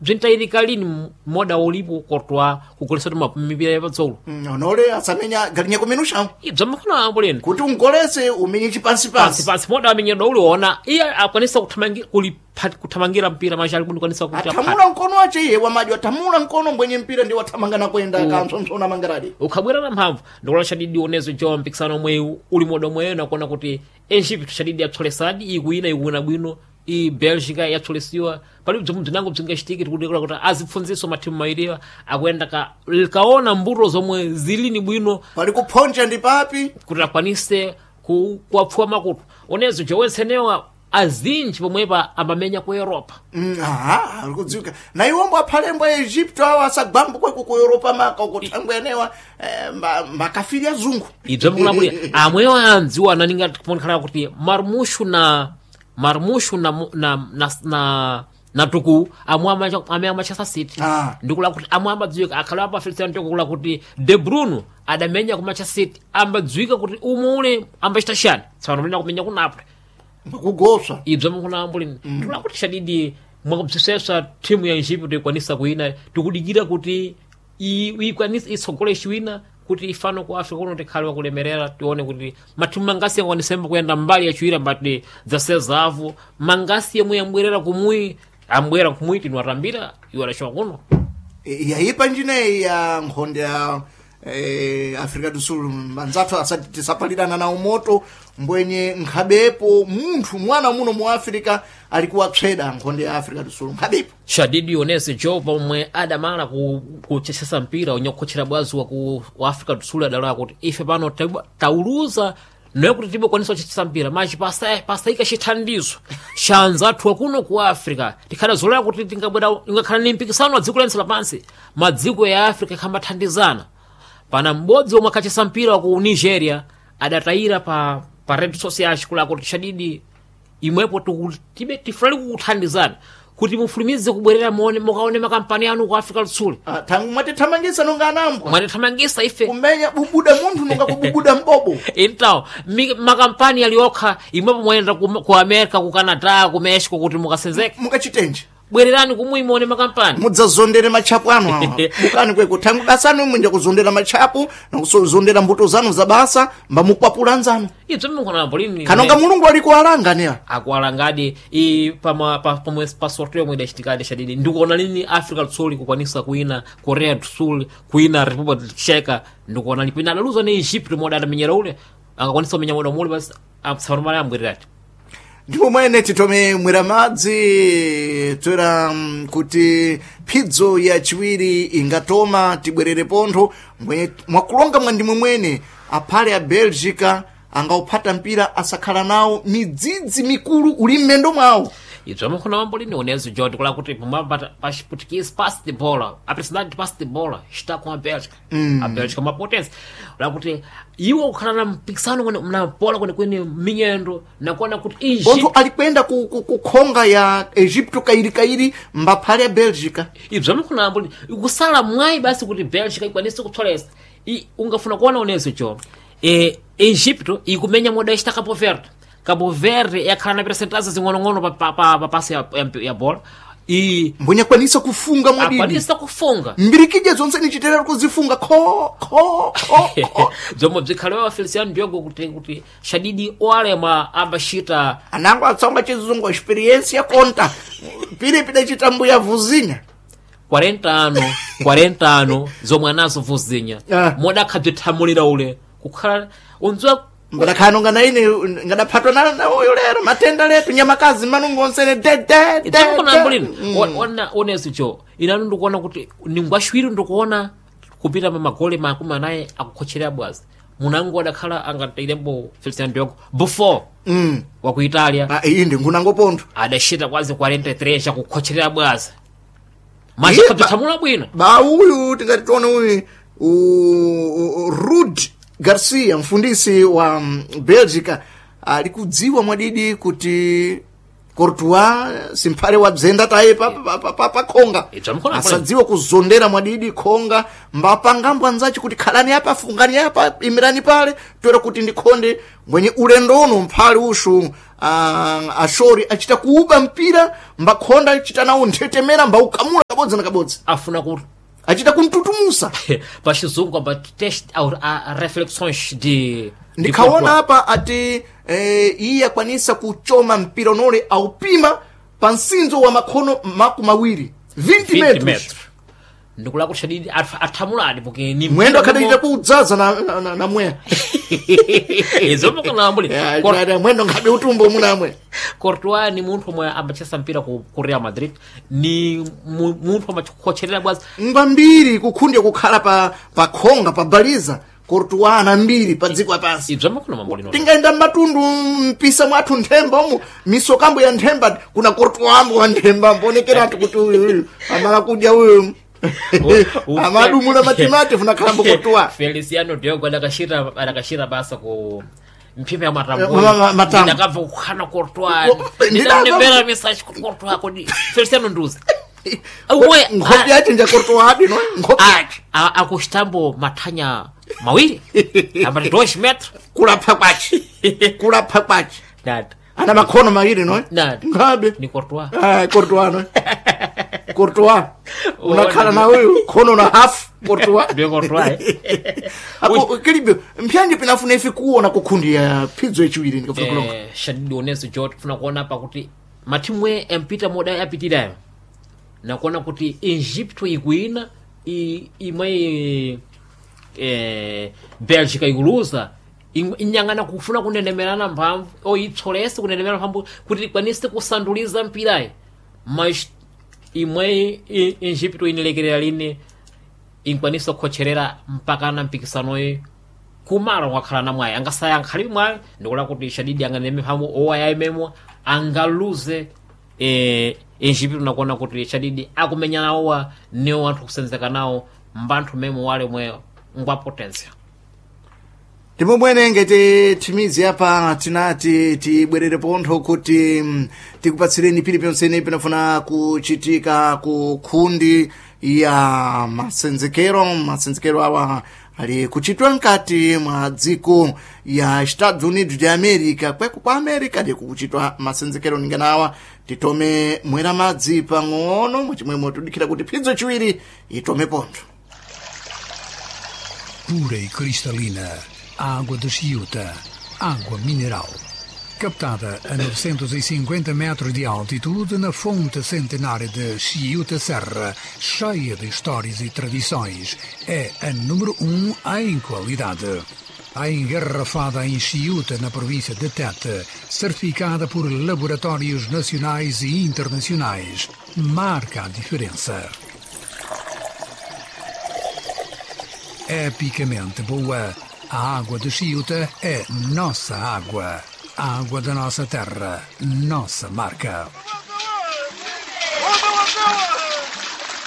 Bzintayirika lini moda ulipo Courtois kugolesa mipira yapatsolo? Onole asamenya galinya kumenushawo. Ibzo makhona ambo lini. Kuti ungolese umenye chipansipansi. Pansi pansi moda amenyedwa uliona iye akwanisa kuthamangira mpira machali kundikwanisa kuti aphate. Athamula mkono wace iye wamaji athamula mkono mbwenye mpira ndi wathamangana kwenda kampsompsona mangaradi. Ukhabwera na mphamvu ndikuona chadidi unezo jo mpikisano omwe uli moda omweyo nakuona kuti Egypt chadidi yapsolesadi ikuwina, ikuwina bwino i Belgica yapsolesiwa pali bzomwe bzinango bzingachitike. Tikudikira kuti azipfunziso mathimu mawiriwa akuyenda kaona mbuto zomwe zilini bwino. Pali kuphonja ndi papi. Kuti akwanise kuwapfuwa makutu unezo jowensenewa azinji pomwepa amamenya ku Europa. Aha, ali kudziwika na iwombo aphalembo a Egipto awo asagwambo kweko ku Europa maka uko thangwe enewa makafiri azungu. Ibzo mkulambulira amwewo andziwa naninga kuonekana kuti Marmushu na Marmushu na tuku amwe amwe amachasa City. Ndikula kuti amwe ambadziwika akhale apa Feliciano ndikula kuti De Bruno adamenya ku Manchester City ambadziwika kuti umule ambachita shani tsopano mlina kumenya ku Napoli. Mbakugoswa. Ibzo mkulambulira ndikula kuti shadidi mwakubzisesa timu ya Egypt ikwanisa kuwina. Tikudikira kuti ikwanise itsogole chiwina kuti ifano ku Africa kuno tikhale wakulemerera. Tione kuti mathimu mangasi angwanisemba kuyenda mbali yachiwira mbati zasezavu mangasi yomwe yambwerera kumui ambwera kumui tinwatambira iwo adachoka kuno. Yayipa njineyi ya nkhonde ya Africa do Sul manzathu asati tisapalirana nawo moto mbwenye nkhabepo munthu mwana muno mu Africa alikuwapseda nkhonde ya Africa do Sul nkhabepo. Shadidi onese jo pomwe adamala kuchesesa mpira unyakukhochera bwazi wa ku wa Africa do Sul adalowa kuti ife pano tauluza noye kuti tibokwanisa kuchechesa mpira machi pasayika chithandizo cha anzathu akuno ku Africa tikhala zolera kuti tingabwera ingakhala ni mpikisano wa dziko lense lapansi madziko ya Africa ikhambathandizana. Pana m'bodzi omwe akhachesa mpira wa ku Nigeria adatayira pa red social kula kuti shadidi imwepo tibe tifulali kukuthandizana kuti mufulumize kubwerera muone mukaone makampani anu ku Africa Lusuli. Tangu mwatithamangisa nonga anambwa. Mwatithamangisa ife. Kumenya bubuda munthu nonga kububuda mbobo. Então makampani aliokha imwepo mwayenda ku America, ku Canada, ku Mexico kuti mukasenzeke. Mukachitenje. Bwererani kumwe muone makampani. Mudzazondere matchapu anu awa bukani kweko thangu basanu imwe ndiyakuzondera matchapu nakusozondera mbuto zanu za basa mbamukwapula nzanu. Ibzo mukona lini. Kanonga mulungu alikuwalanga newa. Akuwalangadi i pama pa pomwe pa sorteo yomwe idachitikadi shadidi ndikuona lini Africa do Sul kukwanisa kuwina Korea do Sul, kuwina Republic Czech. Ndikuona lipina adaluza ni Egypt moda adamenyera ule angakwanisa kumenya moda mule basi amtsanomala ambwererati. Ndipo mwene titome mwera madzi toera kuti phidzo yachiwiri ingatoma tibwerere pontho mwakulonga mwandimwe mwene aphale a Belgica angauphata mpira asakhala nawo midzidzi mikulu uli m'mendo mwawo. Ibzo makhona mambo lini unezo jo ndikula kuti pomwe pa Chiputukisi pass the bola a presidente pass the bola está com a Bélgica, a Bélgica uma potência la kuti iwo kukhala na mpikisano kwene na bola kwene kwene minyendo nakuona kuti Pontho Egypt alikwenda ku khonga ya Egipto kairikairi mbaphale a Belgica. Ibzo makhona mambo lini kusala mwayi basi kuti Bélgica ikwanise kutsolesa. Ungafuna kuona unezo jo Egypto ikumenya moda ista Cabo Verde. Cabo Verde yakhala na percentagens zing'onong'ono pa pasi ya bola i Mbwenye akwanisa kufunga mwadidi. Akwanisa kufunga. Mbirikije zonse nichiterera kuzifunga kho kho kho kho. Bzomwe bzikhalewa Feliciano Diogo kuti shadidi olema ambachita. Anango atsonga chizungu experience ya konta pili pida chitambo ya vuzinya. 40 ano 40 ano zomwe anazo vuzinya. Modakhabzithamulira ule kukhala undziwa. Mbadakhano ngana ine ngadaphatwa na uyo lero matenda letu nyamakazi manungo onsene de de de. Itsakonambulini ona onezo jo inanu ndikuona kuti ningwashwiri ndikuona kupita pa magole 40 akukhocherera bwazi munango adakhala angatailembo Feliciano Diogo before wa ku Italia. Ah, iyi ndi ngunango pontho. Adachita kwazi 43 chakukhocherera bwazi Iye, machikhabzithamula bwino. Ba uyu tingati tione uyu Rud Garcia mfundisi wa Belgica alikudziwa mwadidi kuti Courtois simphale wabzenda taye pa khonga. Ibza mkhona. Asadziwe kuzondera mwadidi khonga mbapangambwa anzace kuti khalani apa fungani apa imirani pale toera kuti ndikhonde mwenye ulendo uno mphale ushu ashori achita kuuba mpira mbakhonda achita nawo nthetemera mbaukamula kabodzi. Kabodzi na kabodzi. Afuna ku Achita kuntutumusa. Pa chizungu amba teste a reflexões de Ndikhaona apa ati iye akwanisa kuchoma mpira unole aupima pa msinzo wa makhono 20, 20 20 metros. Metros ndikula kuti shadidi athamuladi porque ni Mwendo akhadachita kuudzaza na mweya. Izomukanambuli. Ya, mwendo ngabe utumbo munamwe. Courtois ni munthu omwe amachesa mpira ku Real Madrid, ni munthu amachikhocherera bwazi. Ngwambiri kukhundya kukhala pa khonga pa baliza Courtois ana mbiri pa dziko lapansi. Ibzo makona mambo lino. Tingaenda mmatundu mpisa mwathu nthemba umu misokambo ya nthemba kuna Courtois ambo wa nthemba mbonekeratu kuti uyu uyu amala kudya uyu amadumula matimati funakhalambo Courtois. Feliciano Diogo adakashira basa ku mphime ya Matambo. Ndakabva kukhana Courtois. Ndinabva- Ndinabvera message ku Courtois kodi Feliciano nduza. Uwe Nkhope yache nja Courtois adi no nkhope yache. Akuchitambo mathanya mawiri ambati 2 metros. Kulapha kwache, kulapha kwache. Nada. Ana makhono mawiri no. Nada. Ngabe ni Courtois. Ah, Courtois no. Courtois. Unakhala na uyu khono na half Courtois. Ndiyo Courtois, eh. Apo kilibyo mpyanje pinafuna ife kuona kukhundi ya phidzo yachiwiri ndikafuna kulonga. Shadidi oneso jot funa kuona pa kuti mathimu empita moda yapitirayo nakuona kuti Egypto ikuina imwe Belgica ikuluza inyang'ana kufuna kunenemerana mphamvu oitsolese kunenemera mphamvu kuti ikwanise kusanduliza mpirayi, mas imwe Egypto inilekerera lini inkwanisa kukhocherera mpakana mpikisanoyi kumalo kwakhala na mwayi angasaya ankhalibe mwayi ndikula kuti shadidi anganeme mphamvu owayayimemo angaluze Egypto nakuona kuti shadidi akumenya nawowa niwo anthu kusenzeka nawo mbanthu memo wale mwe ngwa potensia. Ndipo mwene ngati thimizi apa tinati tibwerere pontho kuti tikupatsireni piliponsene pinafuna kuchitika ku khundi ya masenzekero. Masenzekero awa ali kuchitwa mkati mwa dziko ya Estados Unidos de America, kweko kwa America ndi kukuchitwa masenzekero ninganawa. Titome mwera madzi pang'ono mwachimwemwe tudikhira kuti phidzo chiwiri itome pontho. Pura e cristalina, água de Chiuta, água mineral. Captada a 950 metros de altitude na fonte centenária de Chiuta Serra, cheia de histórias e tradições, é a número 1 em qualidade. A engarrafada em Chiuta, na província de Tete, certificada por laboratórios nacionais e internacionais, marca a diferença. Epicamente boa. A água de Chiuta é nossa água. A água da nossa terra, nossa marca.